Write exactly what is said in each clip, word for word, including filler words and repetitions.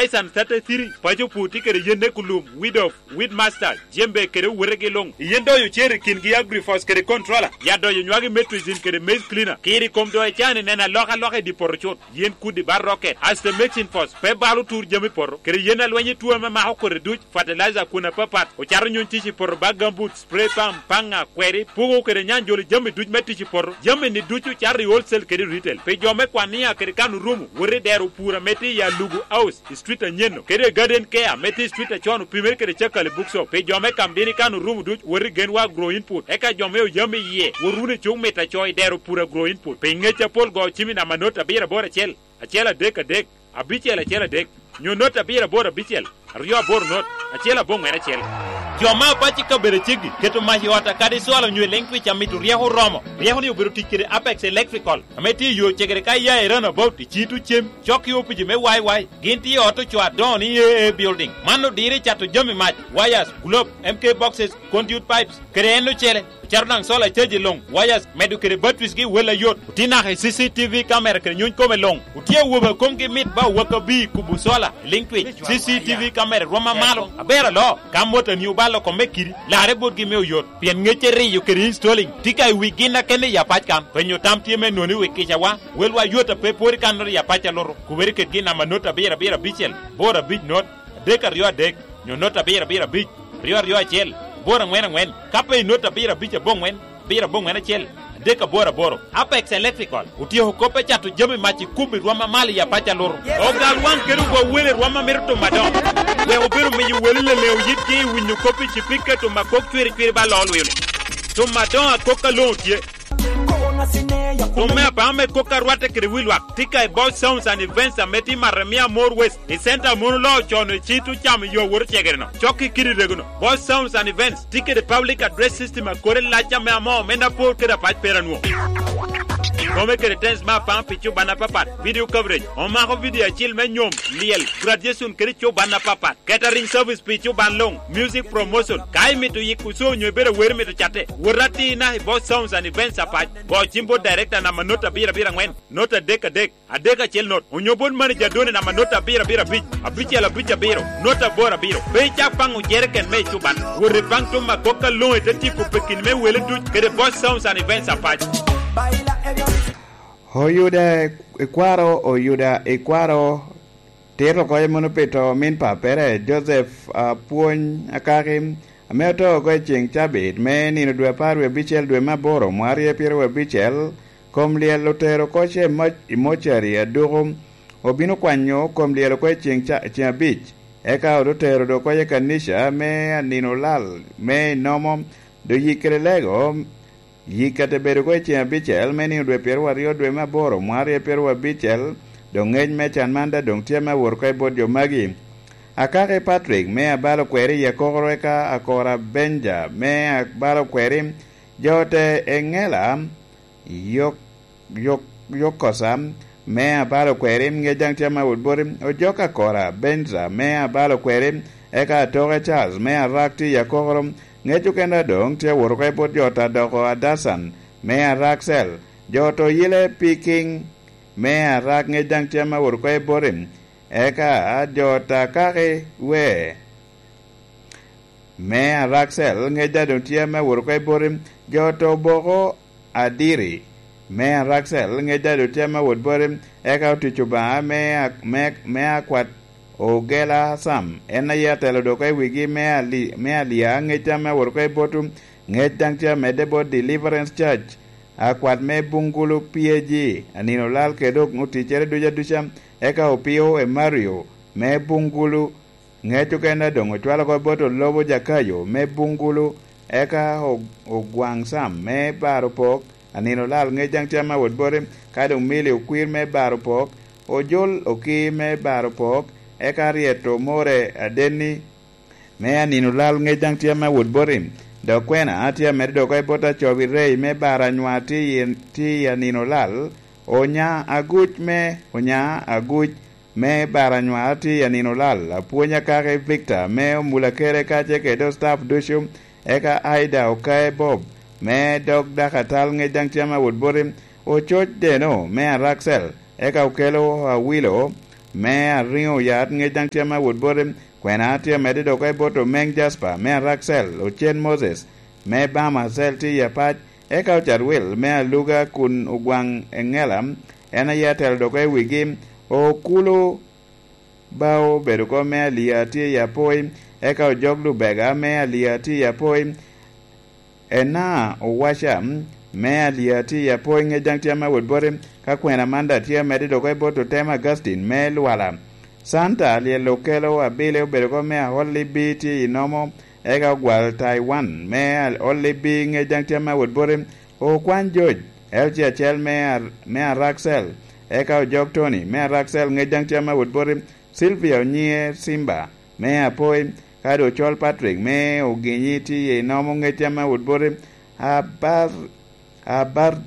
Esan thirty-three, paco pur tye kede yen ne kulum, weed off, weed master, jembe kede owotegi luŋ. Yen doyo cer i kingi Agrifos kede controller, ya doyo nywagi metrizin kede maize cleaner. Kiri kom doyo ecani neno alokaloka i di poto cut. Yen kudi ba rocket, aste mixing force, pe balo tur jami poto, kede yen alweny i tuo ame mako kodi duc, fertilizer kun apapat, ocato nyuny tic i poto ba gambut, spray pump, paŋa, kweri, pugo kede nyanjolo jami duc me tic i poto. Jami ni ducu cato i wholesale kede retail. Pi jo me kwania kede kano rumu, wot i dero pur ame tye i Alugu House, i street anyeno, kede Garden Care ame tye i street acon opimere kede Cakali Bookshop. Pi jo me kam dini kano rumu duc, wot i Genwa Agro Input. Eka jo me oyam i yie, wot wunu i cuk mit aco i dero pur Agro Input. Pi ngec apol go cim i namba not abiro aboro acel, acel adek adek, abicel acel adek, nyo not abiro aboro abicel, aryo aboro not, acel aboŋwen acel. Jo me apac i kabedo aceggi keto mac i ot akadi cwalo nyo i leŋ twic amito ryeko oromo. Ryeko ni obedo tic kede Apex Electrical, ame tye i yo cegere ka iya i Runabout i Citu Cem, cok i opici me Y Y. Gin tye i ot ocoo adoŋo ni A A Building. Man odiro i cato jami mac, wires, globe, M K boxes, conduit pipes, kede en ocele. Ocato daŋ solar charge i luŋ, wires, medo kede batteries gi wel ayot. Otye naka i C C T V camera kede nyuny kome luŋ. Otye awobe a komgi mit ba owaka bi kubo solar i liŋ twic. C C T V camera rwom amalo. Aber alo, ka motani obalo kome kidi, larre botgi me oyot. Pien ŋecce riyo kede installing tye ka i wi gin akene i apac kan. Penyo tam tye me noni wi kicawa. Welwa yot a pe pwod i kannoro i apac alutu. Kubere kedgi i namba not abiro abiro abicel, boro abic not, adek aryo adek, nyo not abiro abiro abic, aryo aryo acel, boro aŋwen aŋwen, ka pe i not abiro abic aboŋwen, abiro aboŋwen acel, adek aboro aboro. Apex Electrical otyeko kop me cato jami mac i kum i rwom amal i apac alutu. Ogal waŋ kede ogwa wele rwom a mito timo adoŋo. Wek obedo miyo wele leleŋo yitgi i winyo kop i cipika timo akok cwiri cwiri ba loo lwilo. Timo adoŋo akok a loŋo tye. Tum me apaŋ me kok a rwatte kede wi lwak tye ka i Boss Sounds and Events ame tye i Maremia More West, i center a mon oloo con i cit ocamo yo wot ocegere-no. Cok i kidi rego-no, Boss Sounds and Events tye kede public address system a kore lac ame amoo me apor kede apac pera nwo. Kome kede tens me apaŋ pi cuban apapat, video coverage, omako video acil me nyom, lyel, graduation kede cuban apapat. Catering service pi cuban luŋ, music promotion. Ka imito yiko co onyo ibedo awer imito catte, wot atir naka i Boss Sounds and Events apac. Go cim bot director namba not abiro abiro aŋwen, not adek adek, adek acel not, onyo bot manager done namba not abiro abiro abic, abicel abic abiro, not aboro abiro. Pe icak paŋo jereken me i cuban. Wot ipaŋ tum akok aloŋo i te tyeko pekini me wele duc kede Boss Sounds and Events apac. Oyuda ikwaro, Oyuda ikwaro. Tito oko meno pi to omin pappere, Joseph Apwony Akaki, ame oto oko i ceŋ cabit me nino dwe apar wie abicel dwe me aboro mwarye pyeto wie abicel, kom lyel otero oko ce i moc-, i mocari aduko, obino kwanyo kom lyel oko i ceŋ ca-, ceŋ abic, eka ote tero dok oko i kanica me anino lal me inomo, doyik kede lego, Yik ka te bedo oko i ceŋ abicel me nino dwe pyeraryo dwe me aboro mwarye pyerabicel, doŋ ŋec me can man daŋ doŋ tye ame awot oko i bot jo magi. Akaki Patrick me abalo kweri i akokoro eka Akora Benja me abalo kweri, jo te Eŋela, yok, yok, yok kosa me abalo kweri, ŋec daŋ tye ame awot boti, ojok Akora Benja me abalo kweri, eka Atoke Charles me arak tye i akokoro, Ŋec okene adoŋ tye awot oko i bot jo ta doko Adacan me Araksel, jo to yile Piking me Arak ŋec daŋ tye ame awot oko i boti, eka jo ta kaki we me Araksel ŋec daŋ doŋ tye ame awot oko i boti, jo to boko Adiri me Araksel ŋec daŋ doŋ tye ame awot boti, eka otic Obaŋa me a-, me, me akwat Ogela Sam, en aye atelo dok i wigi me ali-, me alia ŋec ame awot oko i botwu, ŋec daŋ tye amedde bot Deliverance Church, akwat me Bungulu P A G, anino lal kede dok oticcere duc aduca, eka Opio Emario me Bungulu, ŋec okene doŋ ocwalo oko bot Olobo Jakayo me Bungulu, eka O-, Ogwaŋ Sam me Baro Pok, anino lal ŋec daŋ tye ame awot boti, ka doŋ Mili Okwir me Baro Pok, Ojol Oki me Baro Pok, eka Ryeto More Adenni, me anino lal ŋec daŋ tye ame awot boti. Dok kwena tye amedde dok oko i bot Acobi Rei me Baro Anywa tye i, tye i anino lal, Onya Aguc me, Onya Aguc me Baro Anywa tye i anino lal, Apwony Akaki Victor me Omulakere kacel kede staff ducu, eka Aida Okae Bob me dog Dakatal ŋec daŋ tye ame awot boti, Ococ Deno me Araksel, eka Okelo Awilo, me Ariŋo Yat, ŋec daŋ tye ame awot bote. Kwena tye amedde dok oko i bot Omeng Jasper me Araksel, Ocen Moses me Bama Cell tye i apac, eka Ocarwil me Aluga kun Ogwaŋ Eŋela en aye atelo dok oko i wigi. Okulu Bao obedo oko me Alia tye i apoi, eka Ojok Lubega me Alia tye i apoi. Ena Owaca me Alia tye i apoi, ŋec daŋ tye ame awot bote. Ka kwena man daŋ tye amedde dok oko i bot Otem Augustine me Lwala. Santa Alyel Okelo Abili obedo oko me Aholibi tye i Nomo, eka Ogwal Taiwan me Aholibi ŋec daŋ tye ame awot bote. Okwany Joc L C acel me Ar-, me Araksel, eka Ojok Tony me Araksel ŋec daŋ tye ame awot bote. Sylvia Onyiŋe Simba me Apoi, kadi Ocol Patrick me Oginyi tye i Nomo ŋec tye ame awot bote. Abar, abar,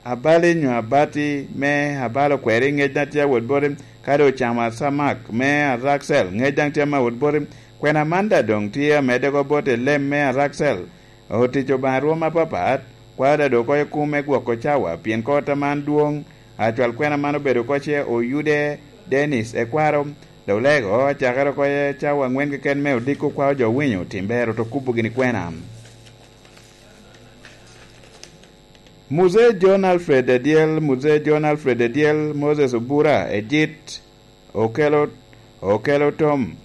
Abali nyo Abati me Abalo Kweri ŋec daŋ tye awot bote, kadi Ocama Samak me Araksel ŋec daŋ tye ame awot bote. Kwena man daŋ doŋ tye amedde oko bot Elem me Araksel. Otic Obaŋa rwom apapat, kwao daŋ dok oko i kum me gwoko cawa, pien kor ata man dwoŋ, acwal kwena man obedo oko ce Oyude Dennis Ekwaro, dok lego acakere oko i cawa aŋwen keken me odiko kwao jo winyo tim ber oto kubo gini kwena. Muzee John Alfred Adyel, Muzee John Alfred Adyel, Moses Obura, Ejit, Okelo, Okelo Tom,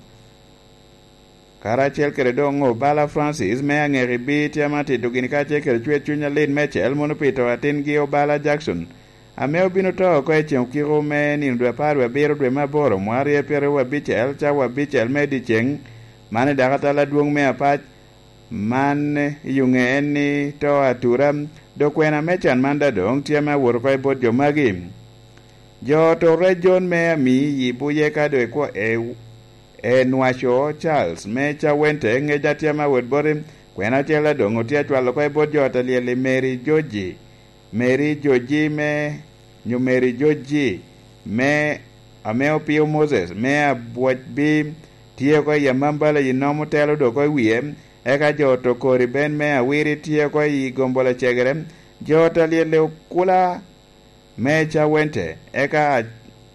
karacel kede doŋ Obala Francis me Aŋekibi tye ame atito gini kacel kede cwer cuny alit meicel mono pi to atingi Obala Jackson, ame obino to oko i ceŋ okiko me nino dwe apar wie abiro dwe me aboro mwaka aryo pyeraryo wie abicel, cawa abicel me dyeceŋ. Man i dakatal adwoŋ me apac. Man i oŋe en ni to atura, dok kwena me can man daŋ doŋ tye ame awot oko i bot jo magi. Jo oto rec John me Ami i Buye ka doŋ ekwo-, e, e Nwaco Charles me Cawente ŋec daŋ tye ame awot bote. Kwena acel daŋ doŋ otye acwalo oko i bot jo ata lyel i Mary Joji. Mary Joji me, nyo Mary Joji me, ame opio Moses me Abwocbi tye oko i Amambala i Nomo telo dok oko i wie, eka jo oto kori Ben me Awiri tye oko i Gombola Cegere, jo ata lyel i Okula me Cawente, eka a-,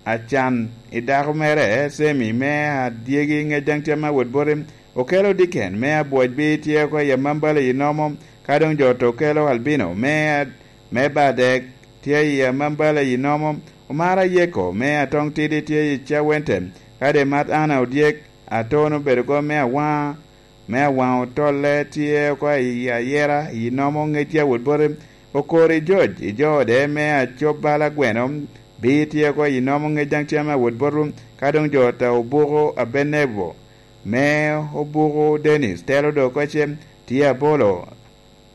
acan i dako mere, Semi me Adyegi ŋec daŋ tye ame awot bote, Okelo Diken me Abwocbi tye oko i Amambala i Nomo, ka doŋ jo oto Okelo Albino me, me Badek tye i Amambala i Nomo, Omara Yeko me Atong Tidi tye i Cawente, ka doŋ Mat Ana Odyek Atono obedo oko me Awaŋa, me Awaŋa Otolle tye oko i Ayera i Nomo ŋec tye awot bote, Okori George i jo ode me Acob Bala Gweno bi tye oko i Nomo ŋec daŋ tye ame awot bote, ka doŋ jo ata Obuko Abenebo me Obuko Dennis telo dok oko ce, tye abolo,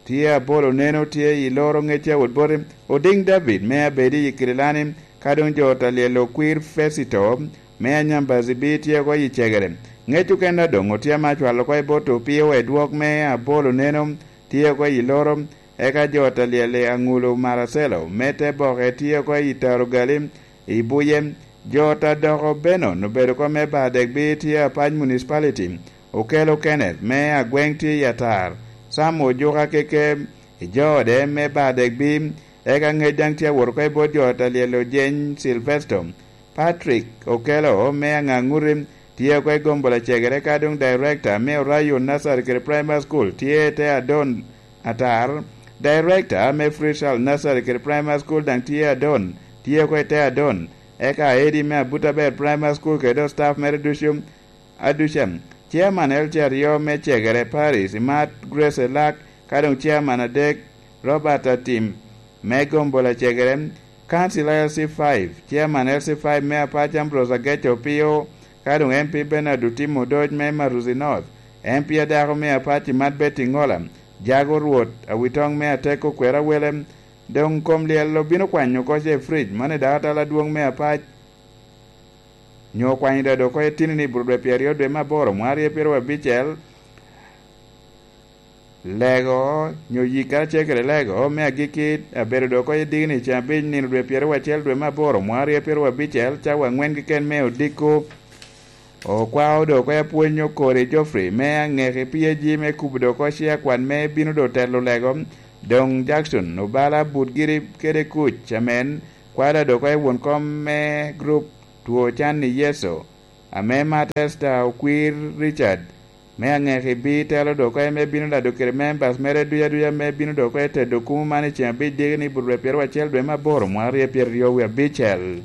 tye abolo neno tye i loro ŋec tye awot bote, Odiŋ David me Abedi i Kirilani, ka doŋ jo ata lyel Okwir Fesito me Anyambazi bi tye oko i Cegere. Ŋec okene a doŋ otye ame acwalo oko i bot Opio Edwok me Abolo neno tye oko i loro, eka jo ata lyel i Aŋulo Maracelo me te boke tye oko i Tarugali i Buye. Jo ata doko Benon obedo oko me Badegbi tye Apac Municipality, Okelo Kenneth me Agweŋ tye i Atar, Sam Ojuka Keke i jo ode me Badegbi, eka ŋec daŋ tye awot oko i bot jo ata lyel Ojeny Silvesto. Patrick Okelo me Aŋaŋuti tye oko i Gombola Cegere ka doŋ Director me Orayo Nursery kede Primary School tye i te Adon Atar. Director me Free Child Nursery kede Primary School daŋ tye Adon, tye oko i te Adon. Eka Edi me Abutabel Primary School kede staff mere ducu aduca. Chairman L C aryo me Cegere Parish, Imat Grace Elak, ka doŋ Chairman adek, Robert Atim me Gombola Cegere, Council L C five, Chairman L C five me Apac Ambrose Ageco Opio, ka doŋ M P Bernard Otimo Odoc me Maruzi North, M P adako me Apac Imat Betty Ngola, Jago Rwot Awitoŋ me Ateko Kwero Awele. Doŋ kom lyel obino kwanyo oko ce fridge, mano i dakatal adwoŋ me Apac. Nyo kwanyo dado oko itino ni buro dwe pyeraryo dwe me aboro mwaka aryo pyeraryo abicel, lego nyo yik karacel kede lego me agikki abedo dok oko i digni ceng abic nino dwe pyeraryo acel dwe me aboro mwaka aryo pyeraryo abicel, cawa aŋwen keken me odiko. Okwao dok oko apwony okori Geoffrey me aŋeki P A G me kubo dok oko ci akwan me bino dok telo lego. Doŋ Jackson obala but giri kede kuc amen, kwada dok oko i won kom me group two can i Yecu, ame Matesta okwir Richard me aŋeki bi telo dok oko, ame bino lado kede members mere duc aduc ame bino dok oko i tedo kumo man i ceŋ abic diki ni but rwepyero acel dwe me aboro mwaka aryo pyeraryo wie abicel.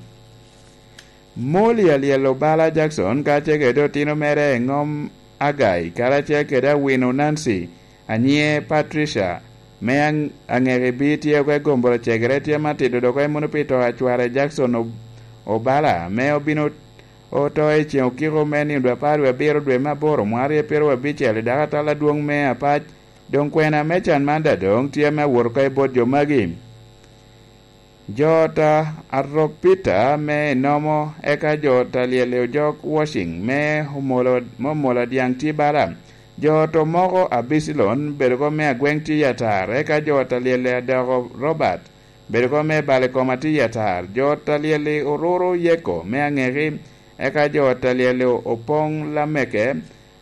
Moli alyel obala Jackson kacel kede otino mere i ŋom Agai, karacel kede awino Nancy, anyiŋe Patricia, me aŋ-, aŋeki bi tye oko i gomboro cegere tye matito dok emono pi to a cware Jackson Ob-, Obala, me obino oto i ceŋ okiko me nino dwe apar wie abiro dwe me aboro mwaka aryo pyeraryo abicel i dako atal adwoŋ me Apac. Doŋ kwena me can man daŋ doŋ tye ame awot oko i bot jo magi. Jo ta Arok Peter me enomo, eka jo ta lyel i ojok Washing me omolo, me omolo adyaŋ tye bala. Jo to moko Abicelon bedo ko me agweŋ tye i atar, eka jo ta lyel i adoko Robert bedo ko me bal i kom atye i atar. Jo ta lyel i oruru Yeko me aŋeki, eka jo ta lyel i opoŋ Lameke,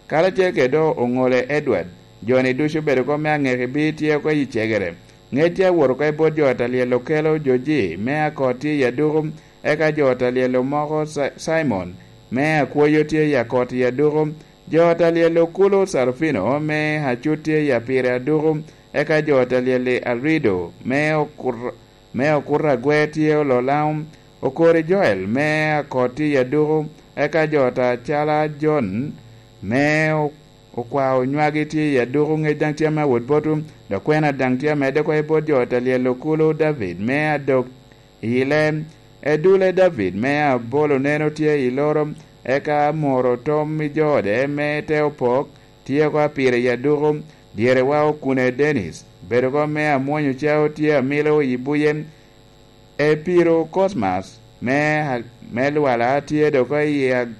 karacel kede oŋole Edward. Jo-ni ducu bedo ko me aŋeki bi tye oko i cegere. Ŋec tye awot oko i bot jo ta lyel okelo Joji me akot tye i aduku, eka jo ta lyel omoko Sa-, Simon me akwoyo tye i akot i aduku. Jo ta lyel okulu Sarufino me acut tye i apire aduku, eka jo ta lyel i Arido me okur-, me okuto agwer tye olo Laum. Okori Joel me akot tye i aduku, eka jo ta cala Jon me o-, okwao nywagi tye i aduku, ŋec daŋ tye ame awot botwu, dok kwena daŋ tye amedde oko i bot jo ta lyel okulu David me adok i le. Edule David me abolo neno tye i loro, eka amoro tom i jo ode me te opok tye oko apire i aduku. Dyerewa Okune Dennis bedo oko me amwonyo cao tye amilo i buye. Epiro Cosmas me, me Lwala tye dok oko i ag-,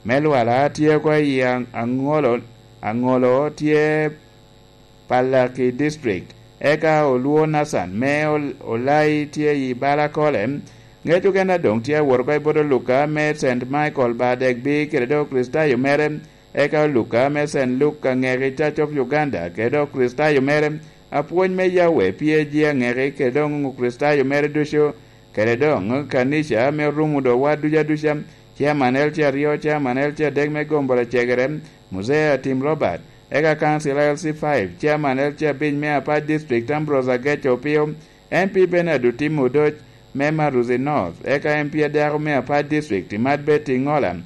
me Lwala tye oko i a-, aŋolo, aŋolo tye Palaki District. Eka Olwo Nathan me Ol-, Olai tye i bala Kole. Ŋec okene doŋ tye awot oko i bot Oluka me Saint Michael Badegbi kede dok Kricitayo mere, eka Oluka me Saint Luke aŋeki Church of Uganda kede dok Kricitayo mere, apwony me Yahweh P A G aŋeki kede doŋ Kricitayo mere ducu, kede doŋ kanica me Rumudo wa ducu aduca, Chairman L C aryo, Chairman L C adek me Gomboro Cegere, Muzee Atim Robert, eka Council L C five, Chairman L C abic me Apac District Ambrose Ageco Opio, M P Bernard Otim Odoc me Maruzi North, eka M P adako me Apac District Imat Betty Ŋola.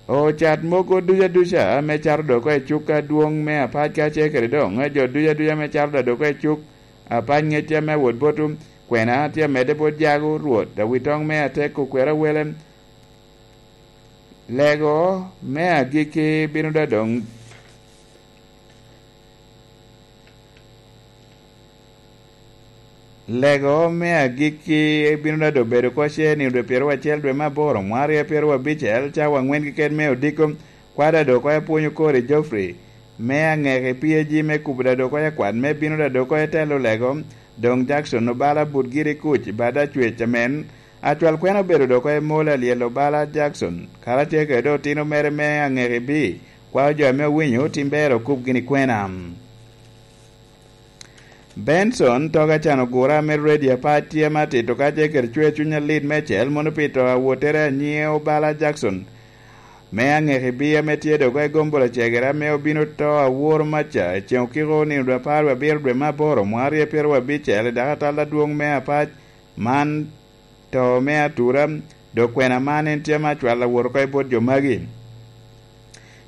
Ocat mogo duca duca ame cato dok oko i cuk adwoŋ me Apac kacel kede doŋ jo duca duca ame cato dok oko i cuk Apac ŋecca me wot botwu, kwena tye amedde bot jago Rwot, awitoŋ me atek okwero awele. Lego me agikki bino daŋ doŋ Lego me agikki bino daŋ doŋ bedo oko ce nino dwe pyeraryo acel dwe me aboro, mwaka aryo pyeraryo abicel, cawa aŋwen keken me odiko. Kwada dok oko apwonyo kori Geoffrey me aŋeki P A G me kubo daŋ dok oko akwat me bino daŋ dok oko etelo lego, doŋ Jackson obala but giri kuc i bada cwec amen. Acwal kwena obedo dok oko emol alyel obala Jackson, karacel kede otino mere me aŋeki bi, kwao jo ame owinyo tim ber okub gini kwena. Benson Toga can ogura ame ready apac tye ame atito kacel kede cwer cuny alit meicel mono pi to awottere anyiŋe obala Jackson me aŋeki bi ame tye dok i gombolo cegere ame obino to aworo maca i ceŋ okiko nino dwe apar wie abiro dwe me aboro mwaka aryo pyeraryo abicel i dako atal adwoŋ me apac man to me atura, dok kwena man en tye ame acwal awot oko i bot jo magi.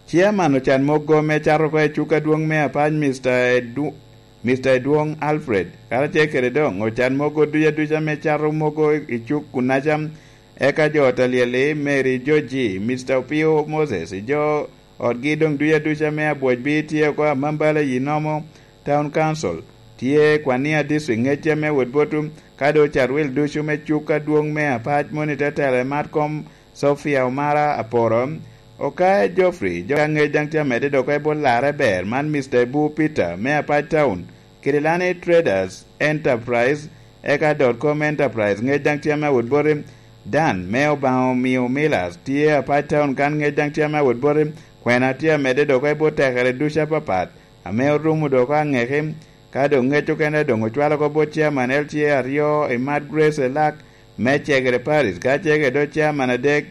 Chairman ocan mogo me cato oko i cuk adwoŋ me apac, Mister Edu-, Mister Edwoŋ Alfred, karacel kede doŋ ocan mogo duca duca me cato mogo i cuk kunaca, eka jo ot alyel-li, Mary Georgie, Mister Opio Moses, jo otgi doŋ duca duca me abwocbi tye oko Amambala i Nomo Town Council, tye Kwania District ŋecce me wot botwu, ka doŋ ocat wil ducu me cuk adwoŋ me apac moni te telo i mat kom Sophia Omara Aporo, Okaya Geoffrey, jo ka ŋec daŋ tye amedde dok oko i bot larre ber man Mister Ebu Peter me Apac Town, kede Lani Traders Enterprise, eka dot com Enterprise ŋec daŋ tye ame awot boti, Dan me Obaŋa Omio Millers tye Apac Town kan ŋec daŋ tye ame awot boti, kwena tye amedde dok oko i bot tekere ducu apapat, ame orumo dok oko aŋeki, ka doŋ ŋec okene doŋ ocwalo oko bot chairman L C A aryo i Mad Grace Elak, Me cegere parit, ka cegere dok caman adek